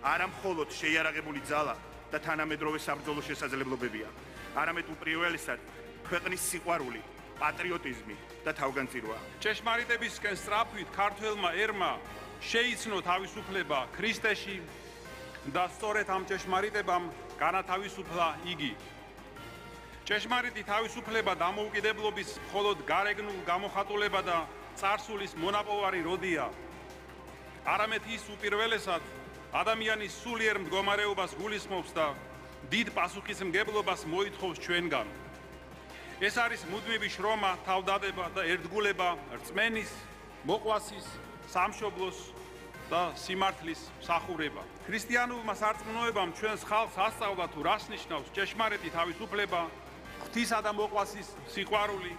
არა მხოლოდ შეიარაღებული ძალა და თანამედროვე საბრძოლო შესაძლებლობებია, არამედ უპირველესად ქვეყნის სიყვარული, პატრიოტიზმი და თავგანწირვა. ჭეშმარიტებისკენ სწრაფვით ქართველმა ერმა შეიცნო თავისუფლება ქრისტეში და სწორედ ამ ჭეშმარიტებამ განათავისუფლა იგი. ჭეშმარიტი თავისუფლება დამოუკიდებლობის მხოლოდ გარეგნულ გამოხატულება და წარსულის მონაპოვარი როდია. არამედ ის უპირველესად ადამიანის სულიერ მდგომარეობას გულისხმობს და დიდ პასუხისმგებლობას მოითხოვს ჩვენგან. ეს არის მუდმივი შრომა, თავდადება და ერთგულება რწმენის, მოყვასის, სამშობლოს და სიმართლის მსახურება. ქრისტიანულმა სარწმუნოებამ ჩვენს ხალხს ასწავლა თუ რას ნიშნავს ჭეშმარიტი თავისუფლება, ღვთისა და მოყვასის სიყვარული,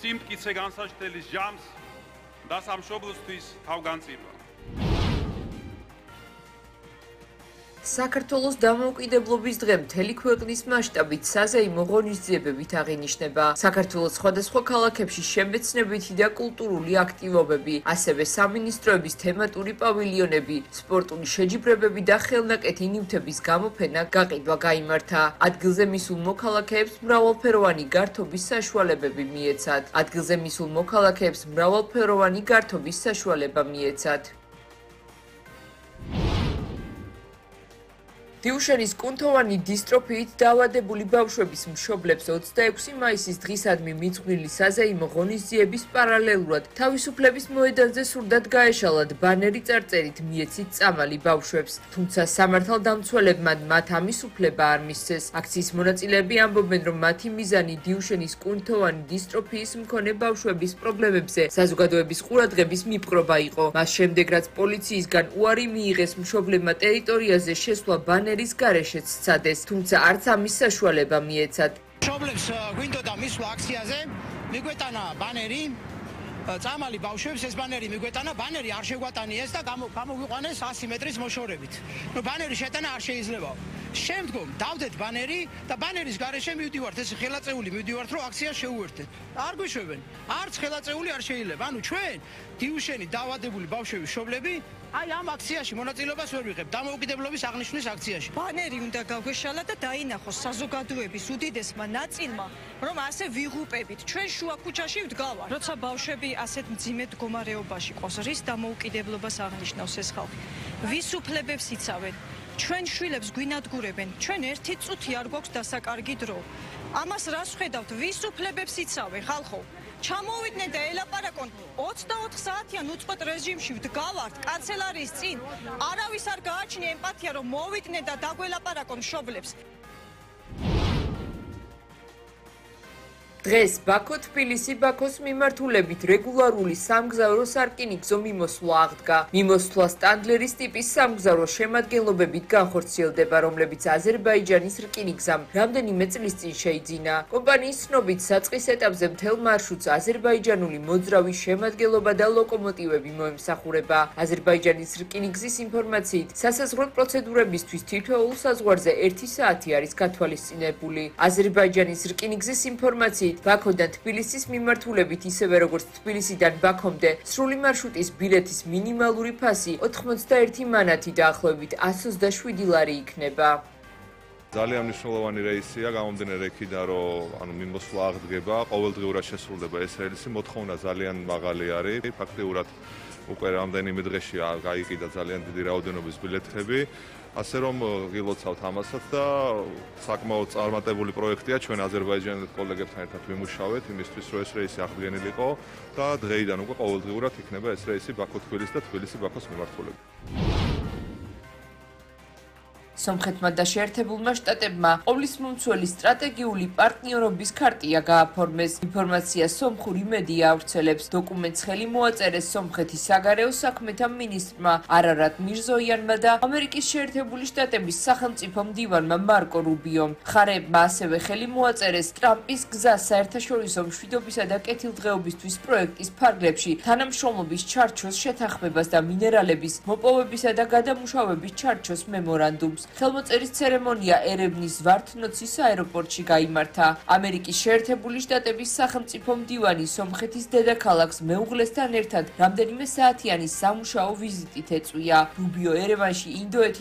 სიმტკიცე განსაჩდელის ჟამს და სამშობლოსთვის თავგანწირვა. საქართველოს დამოუკიდებლობის დღე მთელი ქვეყნის მასშტაბით საზეიმო ღონისძიებებით აღინიშნება. საქართველოს სხვადასხვა ქალაქებში შემეცნებითი და კულტურული აქტივობები, ასევე სამინისტროების თემატური პავილიონები, სპორტული შეჯიბრებები და ხელნაკეთი ნივთების გამოფენა გაყიდვა გაიმართა. ადგილზე მისულ მოქალაქეებს მრავალფეროვანი გართობის საშუალებები მიეცათ. ადგილზე მისულ მოქალაქეებს მრავალფეროვანი გართობის საშუალება მიეცათ. დიუშენის კუნთოვანი დისტროფიით დაავადებული ბავშვების მშობლებს 26 მაისის დღისადმი მიძღვნილი საზეიმო ღონისძიების პარალელურად თავისუფლების მოედანზე სურდათ გაეშალათ ბანერი წარწერით მიეცით წამალი ბავშვებს, თუმცა სამართალდამცველებმა მათ ამის უფლება არ მისცეს. აქციის მონაწილეები ამბობენ, რომ მათი მიზანი დიუშენის კუნთოვანი დისტროფიის მქონე ბავშვების პრობლემებზე საზოგადოების ყურადღების მიპყრობა იყო. მას შემდეგ, რაც პოლიციისგან უარი მიიღეს მშობლებმა ტერიტორიაზე შესვლა ბანერის გარეშეც სცადეს, თუმცა არც ამის საშუალება მიეცათ. მშობლებს გვინდოდა მისვლა აქციაზე, მიგვეტანა ბანერი, წამალი ბავშვებს ეს ბანერი მიგვეტანა, ბანერი არ შეგვატანიეს და გამოგვიყვანეს 100 მეტრის მოშორებით. ბანერი შეტანა არ შეიძლება. შემდგომ დავდეთ ბანერი და ბანერის გარეშე მივდივართ, ეს ხელაწეული მივდივართ, რომ აქციას შეუერთდეთ. არ გვიშვებენ, არც ხელაწეული არ შეიძლება. ანუ ჩვენ დიუშენი დაავადებული ბავშვების მშობლები აი ამ აქციაში მონაწილეობას ვერ ვიღებთ, დამოუკიდებლობის აღნიშვნის აქციაში. ბანერი უნდა გაგვეშალა და დაინახოს საზოგადოების უდიდესმა ნაწილმა, რომ ასე ვიღუპებით. ჩვენ შუა ქუჩაში ვდგავართ. როცა ბავშვები ასეთ მძიმე მდგომარეობაში ყავს, რის დამოუკიდებლობას აღნიშნავს ეს ხალხი? ვის უფლებებს იცავენ? ჩვენ შვილებს გვინადგურებენ, ჩვენ ერთი წუთი არ გვაქვს დასაკარგი დრო. ამას რას ვხედავთ? ვის უფლებებს იცავენ ხალხო? ჩამოვიდნენ და ელაპარაკონ 24 საათიან უწყვეტ რეჟიმში ვდგავართ კანცელარიის წინ. არავის არ გააჩნია ემპათია, რომ მოვიდნენ და დაგველაპარაკონ მშობლებს. დღეს ბაქო-თბილისი ბაქოს მიმართულებით რეგულარული სამგზავრო სარკინიგზო მიმოსვლა აღდგა. მიმოსვლა სტანდლერის ტიპის სამგზავრო შემადგენლობებით განხორციელდება, რომლებიც აზერბაიჯანის რკინიგზამ რამდენიმე წლის წინ შეიძინა. კომპანიის ცნობით, საწყის ეტაპზე მთელ მარშრუტს აზერბაიჯანული მოძრავი შემადგენლობა და ლოკომოტივები მოემსახურება. აზერბაიჯანის რკინიგზის ინფორმაციით, სასაზღვრო პროცედურებისთვის თითოეულ საზღვარზე 1 საათი არის გათვალისწინებული. აზერბაიჯანის რკინიგზის ინფორმაციით, ბაქოდან თბილისის მიმართულებით, ისევე როგორც თბილისიდან ბაქომდე, სრული მარშრუტის ბილეთის მინიმალური ფასი 81 მანათი დაახლოებით 127 ლარი იქნება. ძალიან მნიშვნელოვანი რეისია, გამომდინარე იქიდან, რომ მიმოსვლა აღდგება, ყოველდღიურად შესრულდება ეს რეისი, მოთხოვნა ძალიან მაღალი არის. ფაქტიურად უკვე რამდენიმე დღეში გაიყიდა ძალიან დიდი რაოდენობის ბილეთები. ასე რომ გილოცავთ ამასაც და საკმაოდ წარმატებული პროექტია, ჩვენ აზერბაიჯანის კოლეგებთან ერთად ვიმუშავეთ იმისთვის, რომ ეს რეისი აღდგენილიყო და დღეიდან უკვე ყოველდღიურად იქნება ეს რეისი ბაქო-თბილისი და თბილისი-ბაქოს მიმართულებით. სომხეთმა და შეერთებულმა შტატებმა ყოვლისმომცველი სტრატეგიული პარტნიორობის ქარტია გააფორმეს. ინფორმაცია სომხური მედია ავრცელებს. დოკუმენტს ხელი მოაწერეს სომხეთის საგარეო საქმეთა მინისტრმა არარატ მირზოიანმა და ამერიკის შეერთებული შტატების სახელმწიფო მდივანმა მარკო რუბიომ. მხარეებმა ასევე ხელი მოაწერეს ტრამპის გზა საერთაშორისო მშვიდობისა და კეთილდღეობისთვის პროექტის ფარგლებში თანამშრომლობის ჩარჩოს შეთანხმებას და მინერალების მოპოვებისა და გადამუშავების ჩარჩოს მემორანდუმს. ხელმოწერის ცერემონია ერევნის ვართნოცის აეროპორტში გაიმართა. ამერიკის შეერთებული შტატების სახელმწიფო მდივანი სომხეთის დედაქალაქს მეუღლესთან ერთად რამდენიმე საათიანი სამუშაო ვიზიტით ეწვია. რუბიო ერევანში ინდოეთი